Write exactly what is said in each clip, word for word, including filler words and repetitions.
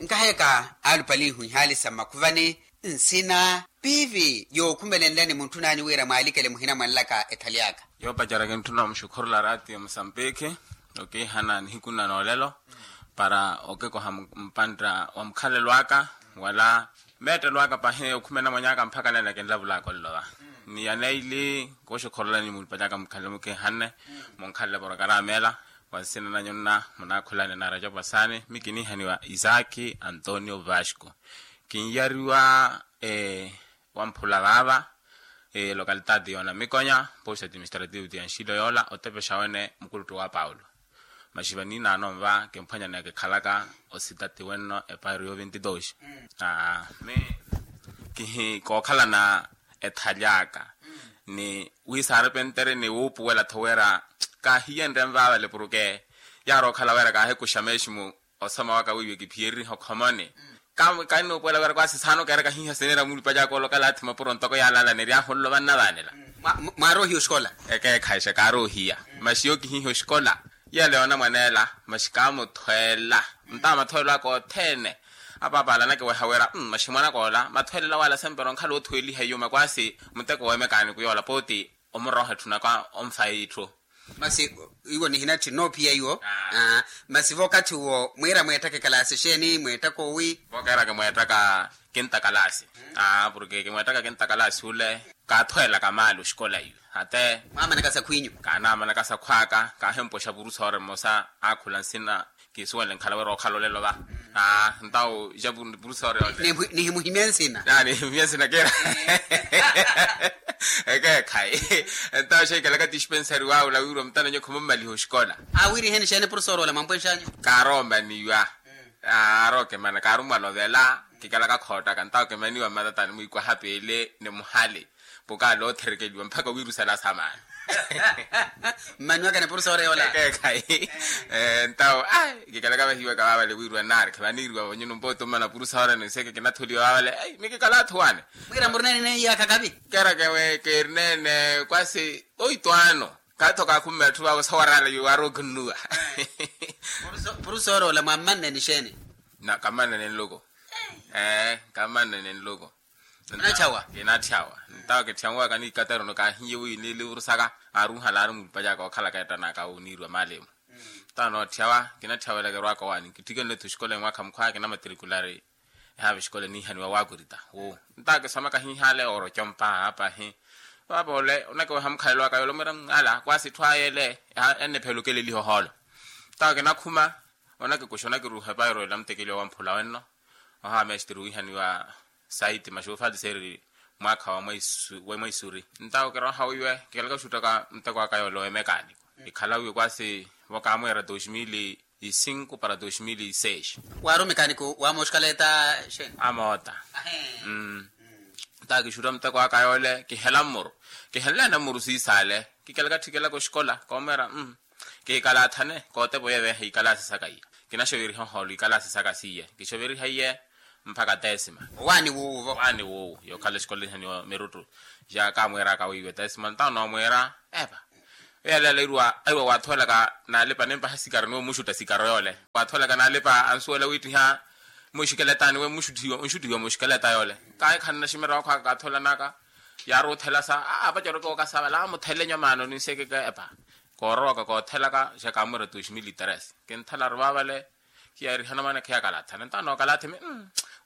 Nkaheeka alupalihu ihaali sa mmakhuvani, nsina piivi yookhumelenlani muntthun'anyu wira mwaalikele muhina mwanlaka ethali aka. Yoopacerya kintthuna omuxukhurula raatiyo musampikhi, okiihana nihiku nna noolelo para okikoha mpantta wa mukhalelo aka wala meettelo aka pahi okhumena mwanyaaka mpakha nene kinlavulaka olelo va. Ni yaneili kooxukhurulani mulipalyaka mukhalelo mukiihanne munkhalele porokaramu ela. Wa nsina nanyu nna munaakhulani na rajapu asaani mi kiniihaniwa isaaki antonio vasco. Kinyariwa wamphula vaava lokalitaati yoona mikonya posi administrativu ti anxilo yoola otepexa wene mukuluttu wa paulo. Maxi vaniinaano nva kimphwanya ni akikhalaka ositati wenno epairo yo vinti dos. Mi kihi kookhalana ethali aka ni wiisaari pentere ni wuupuwela-tho wira kaahiyenrye nvaavale porke yaari okhala wira kaahikuxa meeximu. Osoma waka wiiwe kiphiyereriha okhomoni. Kannuupuwela wira kwasi saana okeera kahiiha sineera mulipa jaaka olokala athi mapuro ntoko yaalala ni ryaahu nlo vannavaanela. Mwaari ohiya oxikola? Ekeekhayixa kaari ohiya. Maxi yookihiiha oxikola yela yoona mwaneela. Maxi kaamuthweela ntawa mathweelo aka othene. Apaapa ala anakiweha wira maxi mwanaka ola mathweelela wala sempero onkhala oothuweliha iyuma kwasi muteko wemekaani kuyoola pooti. Omurooha etthu naka onfaya itthu. Masi iwo nihinatthi noophiya iwo. Masi vookathi uwo mwiira mweettaka ekalaasi exeeni mweettaka owi? Vookeeraka mweettaka kinta kalaasi. Porke kimweettaka kinta kalaasi ule kaathweelaka maali oxikola iwe. Ate mwaamanaka sakhwiinyu? Kaanaamanaka sakhw'aka kaahimpoxa purusoore mmosa aakhula nsina. Kiisuwenle nkhala wira okhala olelo va. Ntawo ja purusoore yoole. Nihimuhimya nsina. Nihimuhimya nsina kira. Ekeekhayi. Ntawo xeikalaka tispensari waawula wiiriwa mutano nyo khumummaliha oxikola. Awiiriheni xeeni purusoore ola mwampwenxanyu? Kaaroomaniwa. Aarookemana kaarummwalovela. Kikalaka khoottaka ntawo kemaniwa mmatatani mwiikwaha peele ni muhali. Pukaala ootherikeliwa mpakha wiirusala samaana. Mmaniwaka ni purusoore yoola? Ekeekhayi. Ntawo kikalaka vahiwaka vaavale wiiriwa nnaari khevaniiriwa vanyuno mpooto mmana purusoore ni seke kinatholiwa vaavale. Mi kikala athu waani. Mwiira murina nineiyaaka kavi? Keraka ewe keerineene kwasi oito ano. Kaatho kaakhumme atthu vaavo sawaraala yuwaari okinnuwa. Purusoore ola mwammanne ni xeeni? Kammannene nluku. Kammannene nluku. Kinatthawa. Ntawo kitthyawaka ni ikatarono kaahiye wi niilivurusaka aaruuhala aari mulipa jaka ookhalaka ettanaka oniiriwa maalimu. Ntawo nootthawa kinatthyawelaka erwaaka owaani kittikenle-tho oxikola emwaakha mukhwaya kinamatrikulari. Ehaava exikola eniihaniwa waakurita wu. Ntawo kisomaka hiihaale ooroca ompaha apahi. Vaapoole onakiweha mukhalelo aka yoole omwiira ala kwasi itthu aya ele. Ennipheela okeleliha ohoolo. Ntawo kinakhuma onakikuxa onakiruuha epairo ela mutekeliwa wamphula wenno. Ohawa mestre wiihaniwa saiti maxuufali seeri mwaakha wa mwaisuri. Ntawo kirooha wiiwe kikalaka oxuttaka muteko aka yoole wemekaaniko ikhala wiiwe kwasi vo kaamweera dos mil e cinco para dos mil e seis. Waari omekaaniko wa mooxikaleta xeeni? Amoota. Ntawo kixutta muteko aka yoole kihela mmuru. Kihenleene mmuru siisaale kikalaka ttikelaka oxikola koomweera. Kiikalathane kootepa oyeveha ikalaasi saka iya. Kinaxoveriha ohoolo ikalaasi saka siiye kixoveriha iye. Mpakha tesima. Owaani wuuwo? Owaani wuuwo yookhala exikola ihaniwa miruttu. Ja kaamweeraka wiiwe tesima ntawo noomweera epa. Eyaleela iruwa aiwa waathoolaka naalipa nimpaha sikaro niwe mmuxutta sikaro yoole waathoolaka naalipa ansuwela wiittiha. Muxikeletaani we mmuxuttihiwa onxuttihiwa muxikeleta yoole. Kaahikhanana ximerewa akhwaka kaatholanaka. Yaaruuthelasa aa apacereke okasavala amuthele nyo maano ninsekeke epa. Koorowaka koothelaka ja kaamwira dos mil tres. Kinthalaru vaavale. Khiyaarihana mwaana khiyakalathana ntawo nookalathimi.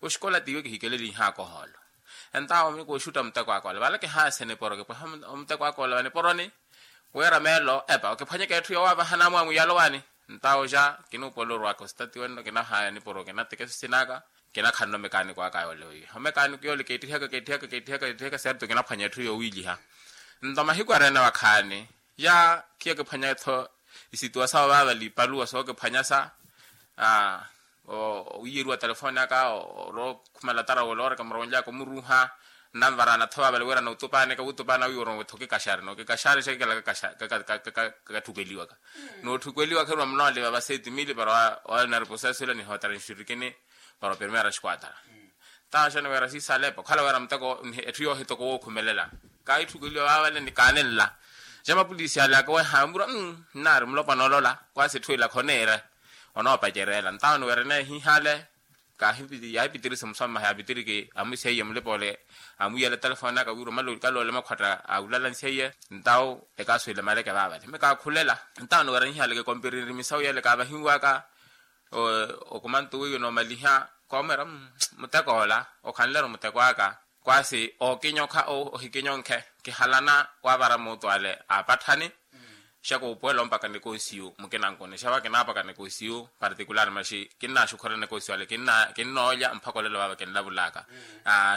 Oxikola tiiwe kihikeleliihaka ohoolo. Entawo mi kooxutta muteko aka ole vale kihaase niporo kipweha omuteko aka ole vaniporoni. Wira meelo epa okiphwanyeke etthu yowaavahana amwaamwi yalowaani. Ntawo ja kinuupola orwaka ositati wenno kinahaya niporo kinateke sisinaka. Kinakhanna omekaaniko aka yoole wiiwe omekaaniko yoole keettihaka keettihaka keettihaka keettihaka serto kinaphwanya etthu yowiiliha. Nto mahiku areene wakhaani ya khiya kiphwanya-tho. Isituwa sawo vaavali ipaluwa sookiphwanyasa. Wiiyeriwa telefoni aka orookhumela tarawo olooreka muronlyaka omuruuha. Nnanvaraana-tho vaavali wira nootupaanika wutupaana wiiwa orowe-tho okikaxari nookikaxari xa kikala katthukweliwaka. Noothukweliwaka eruma munooliva va seti mili para wa nariposeso ila nihootera nxirikini. Para opermeera xikuatara. Ntaxani wira siisalepa okhala wira muteko etthu yoohitoko wookhumelela. Kaahitthukweliwa vaavale ni kaanenla. Ja mapulisi ale akaweha amurwa nnaari mulopwana olola kwasi etthu ila khoneere. Onoopacereela ntaxani wira eneehiihale. Kaahipitiri yaahipitiri simusoma yaapitiriki amwiseiye mulipa ole, amwiyela telefoni aka wira omala okaloole makhwatta a ulala nseiye. Ntawo ekaaswile maleke vaavale mi kaakhulela. Ntawo niweranyihaleke kompirinri misawu yele kaavahiwaka. Okumantu wiiwe noomaliha koomweera, muteko ola okhanleru muteko aka. Kwaasi ookinyokha ohikinyonkhe kihalana waavara muutu ale aapatthani. Xa kuupuwela ompaka nekoosiyu mukinankuni xa vakinaapaka nekoosiyu particular maxi kinnaxukhurela nekoosiyu ale kinnoolya mpakha olelo vaava kinlavulaka.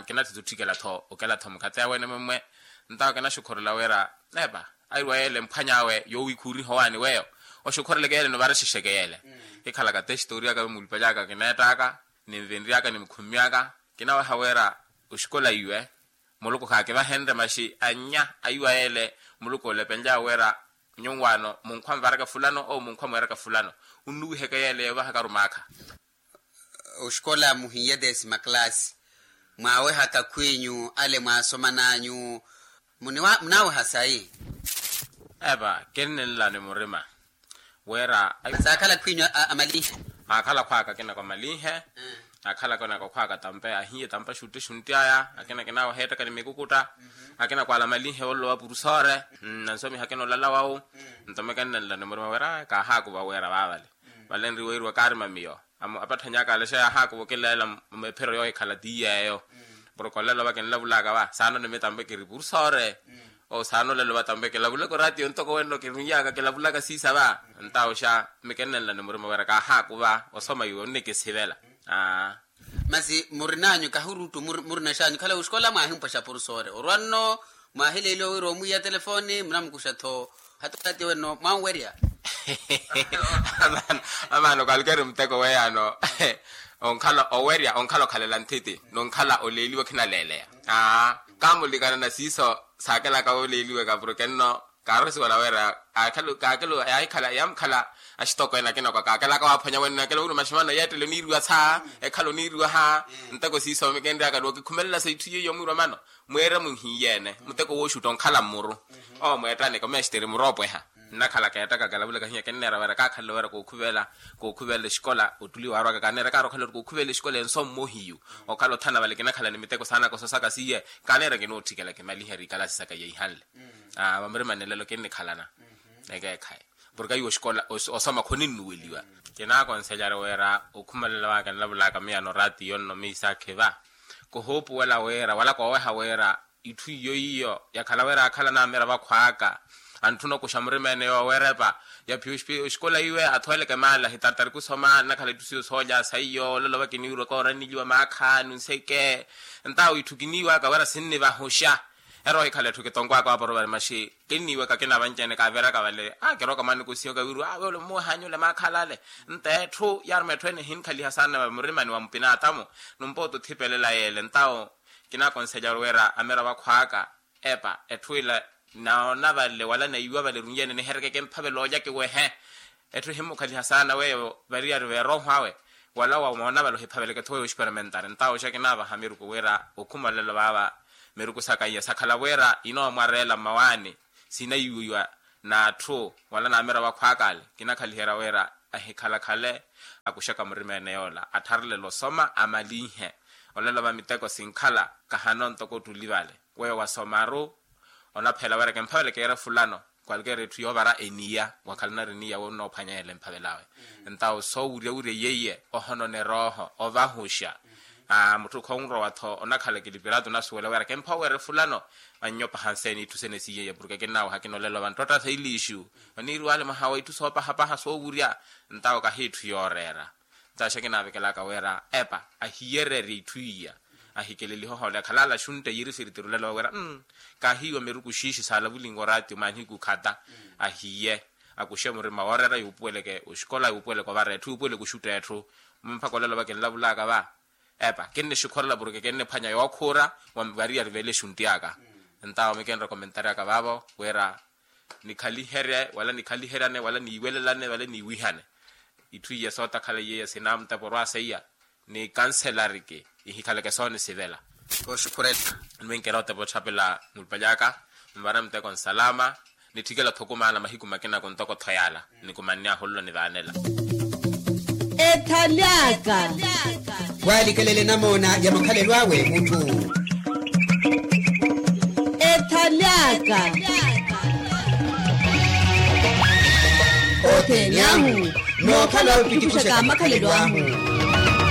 Nkinatthitu otthikela-tho okela-tho mukhathi awe ene mumwe. Ntawo kinaxukhurela wira epa airwa yeele mphwany'awe yoowikhuriha owaani weyo. Oxukhureleke yeele nivara exexeke yeele. Kikhalaka te xitoori aka ve mulipaly'aka kineett'aka ninvenry'aka nimukhummy'aka. Kinaweha wira oxikola iwe muluku khaakivahenrye maxi annya aiwa yeele muluku olepenlyawe wira nyuwaano munkhwa nvaraka fulano ou munkhwa mweeraka fulano. Onnuwiheke yeele yoovahaka rumaakha. Oxikola muhiye desima classe mwaawehaka khwiinyu ale mwaasoman'anyu. Munaaweha sayi? Epa kinnenlani murima wira saakhala khwiinyu amalinhe. Aakhala khwaaka akina kwa malinhe. Aakhala akina kwa khwaaka tampe ahiye tampe axutti exuntti aya akina kinaaweha ettaka ni mikukutta. Akina kwaala malinhe woolowa purusoore. Nansomiha akina olala wawu. Nto mi kennenlani murima wira kaahaakuva wira vaavale vale nriweeriwa kaarima miyo. Apatthany'aka alexa yaahaakuva okileela. Ephiro yoohikhala ti yeeyo porke olelo va kinlavulaka va saana onimita mpe kiri purusoore. Ou saana olelo va tampe kilavulaka oraatiyo ntoko wenno kiruny'aka kilavulaka siisa va. Ntawo xa mi kennenlani murima wira kaahaakuva osoma iwe onnikisivela. Masi murin'anyu kahuruuttu murina xanyu khala oxikola mwaahimpwexa purusoore orwa nno mwaahileeliwa wira omwiiya telefoni munamukuxa-tho. Hata oraatiyo wenno mwanwerya. Amaano kalkeri muteko weyaano onkhala owerya onkhala okhalela nthiti nonkhala oleeliwa khinaleeleya. Kaamulikana na siiso saakelaka oleeliweka porke nno kaarosiwa nawera. Kaakelo yaahikhala yaamukhala axitoko ene akina kwa kaakelaka waaphwanya wenno akelo wira maximano yeettele oniiriwa saa ekhala oniiriwa ha. Nteko siiso mikenryaka ni okikhumelela sa itthu yiyo mwiirwa mano mweera muhiiyene muteko wooxutta onkhala mmuru. Owo mweettaneke omeexiteri muroopweha nnakhala keettaka kilavulaka hiya kenneera wira kaakhalele wira kookhuvela kookhuvela exikola ottuli waarwaka kaneera kaarwa okhalelo kookhuvela exikola enso mmohiyu. Okhala othana vale kinakhala ni miteko saana kososaka siye kaneera kinootthikela kimalihe eri ikalasi saka yeihanle. Vamurima nilelo kinnikhalana ekeekhayi porke aiwo oxikola osoma khoninnuweliwa. Kinaakonselari wira okhumelela waka nlavulaka miyano oraatiyo nno miisaakhiva kuhuupuwela wira wala kooweha wira itthu iyo iyo yakhala wira akhala naamira vakhwaaka antthuna okuxa murima ene yoowerepa yaphiya oxikola iwe athooleke maala hitartari kusoma nnakhala itthu siyo soolya saiyo olelo vakiniwirwaka oraniliwa maakha nunseke. Ntawo itthu kiniiwaka wira sinnivahuxa eroohikhala etthu kitonkwaka waaporovari maxi kinniiwaka kinavanci ene kaaviraka vale. Kirooka mwanikosiyoka wiriwa awe ole mmuwehanyule maakha alale nto etthu yaaruma etthu ene ehinkhaliha saana vamurimani wa mupinaatamu. Numpoota othipelela yeele ntawo kinaakonselari wira amira vakhwaaka epa etthu ila naona vale wala naiwa vale erunyeene niherekeke mphavela olya kiwehe. Etthu ehimmukhaliha saana weyo variyari veerooho awe wala wamoona vale ohiphaveleke-tho weyo oxiperimentari ntawo xa kinaavaha miruku wira okhuma olelo vaava miruku saka iya sakhala wira inoomwareela mmawaani sinaiwiwa n'atthu wala n'amira vakhwaaka ale. Kinakhaliherya wira ahikhalakhale akuxaka murima ene yoola attharelele osoma amalinhe olelo va miteko sinkhala kahano ntoko ottuli vale. Weyo wasomaru onaphela wira kimphaveleke yeera fulano kwalkeera etthu yoovara eniya wakhala onari eniya woonnoophwanya yeela emphavelawe. Ntawo soowuryawurya yeiye ohonona erooho ovahuxa. Mutthu khonrowa-tho onakhala ekilipiratu onasuwela wira kimpha oweere fulano. Annyopa hanseeni itthu sene siiyeiye porke kinnaawaha kinolela ovanttotta sa iliixu oniiriwale mwaha wa itthu soopahapaha soowurya. Ntawo kahi itthu yooreera ntawo xa kinaavekelaka wira epa ahiyererye itthu iya ahikelelihe ohoole akhalala axuntte yiirifiriti rulela wira kahiiwa miruku xiixi saalavulinwa oraatiyo maaniku khata. Ahiye akuxe murima wooreera yuupuweleke oxikola yuupuweleke ovara etthu yuupuweleke oxutta etthu. Mpakha olelo va kinlavulaka va epa kinnixukhorela porke kinniphwanya yookhuura wa variyari veele exuntti aka. Ntawo mikenre komentari aka vaavo wira nikhaliherye wala nikhaliheryane wala niiwelelane wala niiwihane itthu iya sootakhala iyeiya sinaamutepa orwa seiya ni kanselariki ihikhaleke soonisivela. Kooxukhurela niminkeera otepa otthapela mulipaly'aka nvara muteko nsalama nitthikela-tho okumaana mahiku makina kuntoko-tho yaala nikumanny'ahu ololo nivaanela. Ethaly'aka. Walikelele namoona ya makhalelo awe mutthu. Ethaly'aka. Othene ahu nookhala opitikuxaka makhalelo ahu.